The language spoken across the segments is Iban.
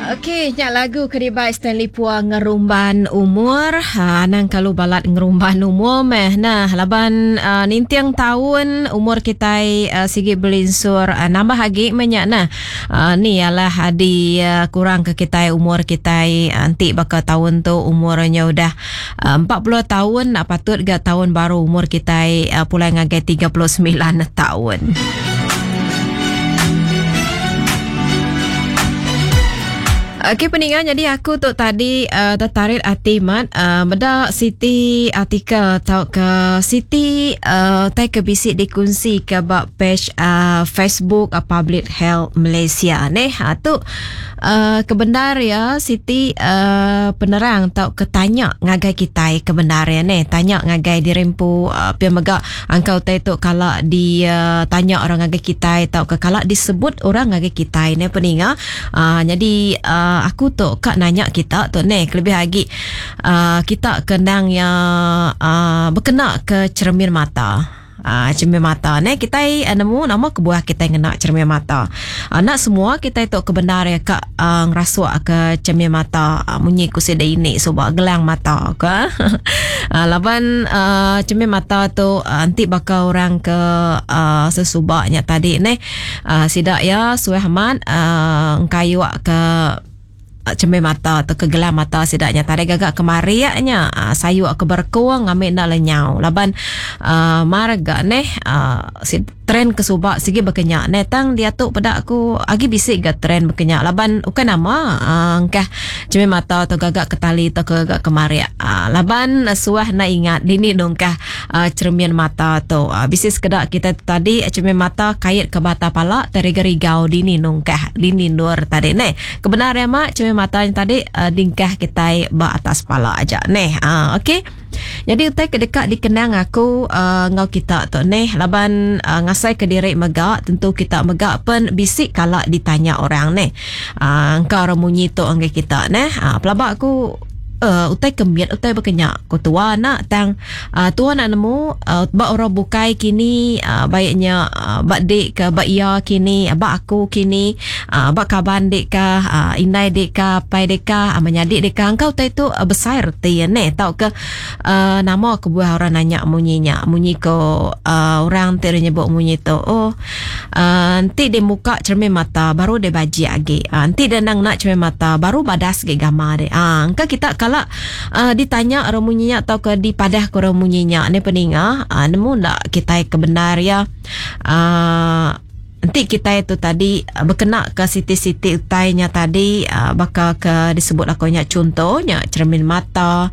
Okey, nya lagu ke dibai Stanley Pua ngerumban umur. Ha, anang kalu balat ngerumban umur meh. Nah, laban uh, ninting taun umur kitai uh, sigi belinsur uh, nambah agi meh nya nah. Uh, ni alah di uh, kurang ke kitai umur kitai uh, enti baka taun tu umurnya udah uh, 40 taun nak patut ga taun baru umur kitai uh, pulai ngagai 39 taun. Okey peninga jadi aku tu tadi uh, tertarik ati mat uh, meda siti artikel tau ke siti uh, tai ke bisi dikunsi ke ba page uh, Facebook uh, Public Health Malaysia neh. Ha tu uh, kebendar ya siti uh, penerang tau ke tanya ngagai kitai kebendar ya neh. Tanya ngagai diri empu uh, pia mega Angka utai tu kala ditanya orang ngagai kitai tauka kala disebut orang ngagai kitai neh peninga. Aaa nyadi aaa aku tu ka nanya kita tu neh kelebih agi aaa kita ke endang iya aaa bekena ke cheremin mata. Aaa cheremin mata neh kitai nemu nama kebuah kitai ngena cheremin mata. Enda semua kitai tu ke bendar iya ka aaa ngerasuk ke cheremin mata munyi ku sida ini suba gelang mata ka. Laban uhh cermin mata tu enti baka orang ke uhh sesuba nya tadi neh uhh sida iya suah amat uhh engkayu ke cermin mata tauka gelang mata sida nya tadi gaga kemarik nya uhh sayu ke berekung ngambi enda lenyau laban uhh mar ga neh uhh Trend ke suba sigi baka nya neh tang diatu peda aku agi bisi ga trend baka nya laban ukai nama aaa engkah cermin mata tu gaga ke tali tauka gaga ke marik aaa laban suah enda ingat dini nungkah aaa cermin mata tu. Bisi sekeda kita tu tadi cermin mata kait ke bata pala tai rigau-rigau dini nungkah dini endur tadi neh. Kebenar iya ma cermin mata nya tadi aaa dingkah kitai ba atas pala aja neh aaa okey. Nyadi utai ke deka dikenang aku uhh enggau kita tu neh laban uhh ngasai ke diri mega tentu kita mega pen bisi kala ditanya orang neh. uhh Engka orang munyi tu ngagai kita neh. uhh Pelaba aku uhh utai ke mit utai baka nya ku tua enda tang uhh tua enda nemu uhh ba orang bukai kini uhh baik nya ba dik ke ba iya kini ba aku kini uhh ba kaban dik ka uhh indai dik ka apai dik ka menyadi dik ka engka utai tu besai reti iya neh tauka uhh nama kebuah orang nanya munyi nya munyi ko uhh orang ti nyebut munyi tu oh uhh enti deh muka cermin mata baru deh bajik agi uhh enti deh enda ngena cermin mata baru badas agi gamal deh uhh engka kita kala uhh ditanya orang munyi nya tauka dipadah ke orang munyi nya neh peninga uhh nemu enda kitai ke bendar iya uhh Enti kitai tu tadi bekena ke siti-siti utai nya tadi baka ke disebut aku nya chunto nya cheremin mata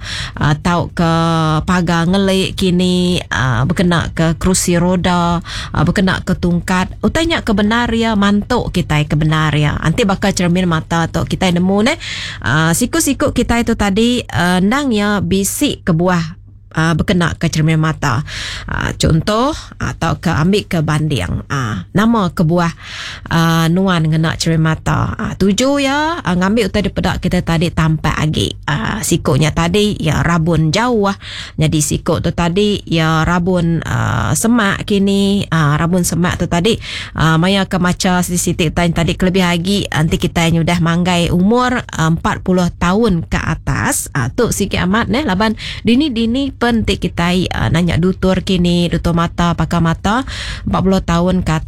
tauka pagar ngeli kini bekena ke kerusi roda bekena ke tungkat utai nya ke bendar iya mantu kitai ke bendar iya. Enti baka cheremin mata tu kitai nemu neh siku-siku kitai tu tadi endang iya bisi kebuah. Bekena ke cermin mata. Chunto tauka ambi ke banding nama kebuah nuan ngena cermin mata. Tuju iya ngambi utai dipeda kita tadi tampak agi. Siku nya tadi iya rabun jauh nyadi siku tu tadi iya rabun semak kini rabun semak tu tadi maya ke macha siti-siti utai tadi kelebih agi enti kitai nyudah manggai umur 40 taun ke atas. Tu sigi amat neh laban Dini-dini pen ti kitai nanya dutur kini, dutur mata, pakar mata, 40 taun ke atas.